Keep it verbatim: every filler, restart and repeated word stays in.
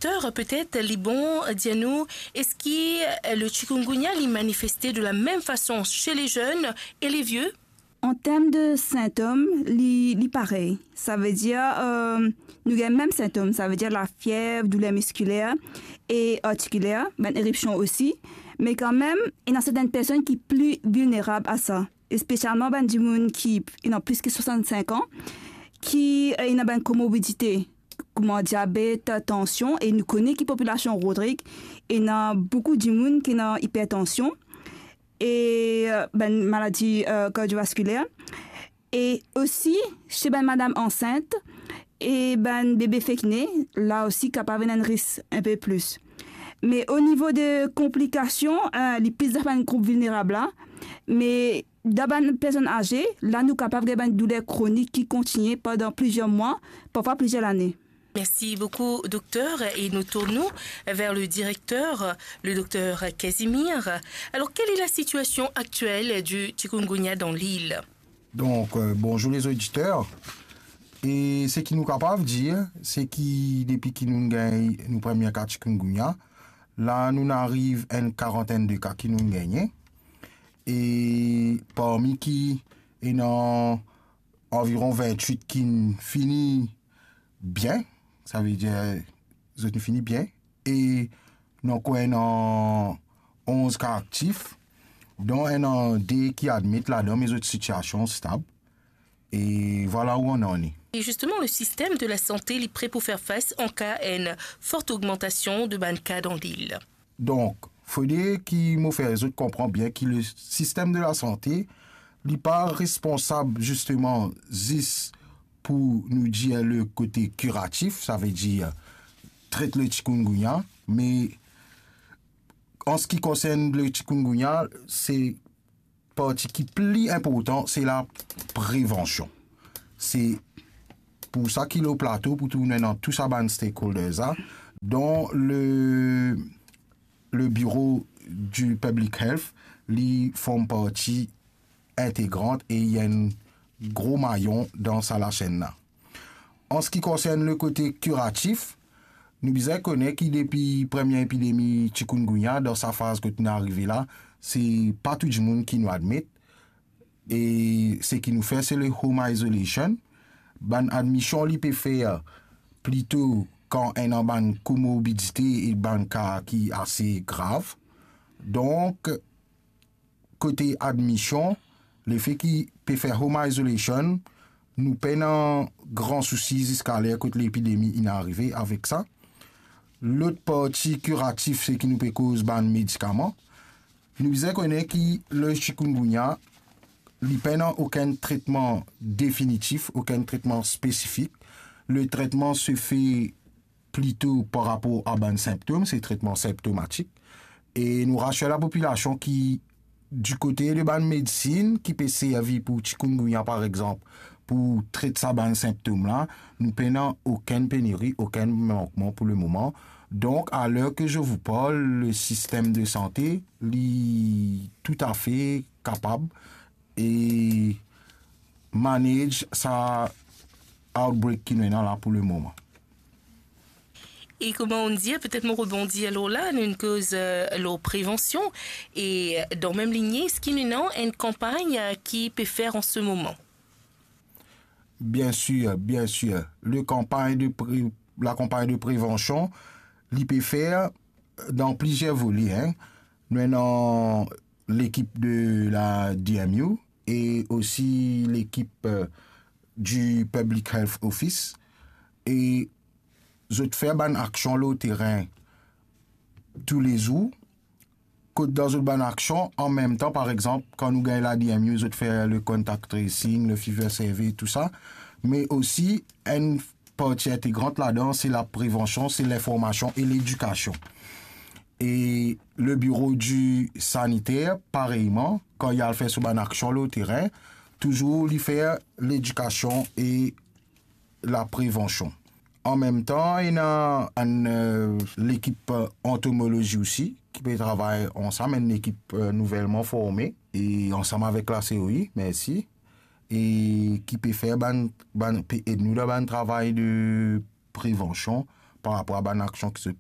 Dokter, petet li bon dir nou, eski, euh, le chikungunya li manifeste de la mem fason chez les jeunes et les vieux? An term de sintom, li, li parey. Savedir, euh, nou gagn mem sintom, savedir lafiev, douler miskiler e artikiler, bann eripsion osi. Me kanmem, ena sertenn personn ki pli vilnerab a sa, espesialman bann dimoun ki ena plis ki swasann-sink an, ki, euh, ena bann komorbidite, kouma diabet, tansion, e nou kone ki popilasion Rodrig, ena boukou dimoun ki ena ipertansion, e, euh, bann maladi, euh, kardiovaskiler. E osi, se bann madam ansint e bann bebe fek ne, la osi kapav ena enn risk inpe plis. Me o nivo de konplikasion, euh, li plis dan bann group vilnerab la, me dan bann personn aze, la nou kapav gagn bann douler kronik ki kontigne pandan plizier mwa, parfwa plizier lane. Merci beaucoup, docteur. Et nous tournons vers le directeur, le docteur Casimir. Alors, quelle est la situation actuelle du chikungunya dans l'île? Donc, euh, bonjour les auditeurs. E seki nou kapav dir, se ki depi ki nou gagn nou premie ka chikungunya, la nou ariv enn karantenn de ka ki nou gagne. E parmi ki ena anviron vintwit ki fini bien, savedir zot fini bien, e nou ankor ena onz ka aktif, don ena de ki admit ladan, me zot sitiasion stab. E vwala ou annan li. Et justement, le système de la santé, li pre pou fer fas an ka enn forte augmentation de bann ka dans l'île. Donk, fode ki mo fer zot konpran bien ki le sistem de lasante, li pa responsab zisteman zis pou nou dir le kote kiratif, savedir tret le chikungunya, me an se ki konsern le chikungunya, se parti ki pli inportan, se la prevansion. Se pou sa ki lor plato, pou tounen dan tou sa bann stakeholders la, don le, le biro du public health, li form parti integrant e li enn gro mayon dan sa lasenn la. An se ki konsern le kote kiratif, nou bizin kone ki depi premie epidemi chikungunya, dan sa faz kot nou arive la, se pa tou dimoun ki nou admit. E seki nou fer, se le home isolation. Bann admision, li pe fer plito kan ena bann komorbidite e bann ka ki ase grav. Donk, kote admision, lefe ki pe fer home isolation, nou pena gran sousi ziska ler kot lepidemi inn arive avek sa. Lot parti kiratif, seki nou pe koz bann medikaman. Nou bizin kone ki le chikungunya, li pena okenn tretman definitif, okenn tretman spesifik. Le tretman se fe plito par rapor a bann sinptom, se tretman sinptomatik. E nou rasir lapopilasion ki, di kote de bann medsin ki pe servi pou chikungunya, par exanp, pou tret sa bann sinptom la, nou pena okenn peneri, okenn mankman pou lemoman. Donk, a ler ke je vous parle, le sistem de sante, li toutafe kapab e manage sa outbreak ki nou ena la pou lemoman. E kouma ou dir, petet mo rebondi lor la, nou inn koz, euh, lor prevansion, e dan mem linie, eski nou ena enn kanpagn, euh, ki pe fer an se moman? Bien sir, bien sir. Le kanpagn de pre-, lakanpagn de prevansion, li pe fer dan plizier vole, hein. Nou ena lekip de la D M U e osi lekip, euh, du Public Health Office. E zot fer bann aksion lor terin toulezour. Kot dan zot bann aksion, an mem tan, par exanp, kan nou gagn la D M U, zot fer le contact tracing, le fever survey, tou sa. Me osi, enn parti integrant ladan, se laprevansion, se linformasion e ledikasion. E le biro di saniter, pareyman, kan li al fer so bann aksion lor terin, touzour li fer ledikasion e laprevansion. An mem tan, ena enn, euh, lekip, euh, antomolozi osi, ki pe travay ansam, enn lekip, euh, nouvelman forme, e ansam avek la C O I, mersi, e ki pe fer bann, bann, pe ed nou dan bann travay de prevansion par rapor a bann aksion ki zot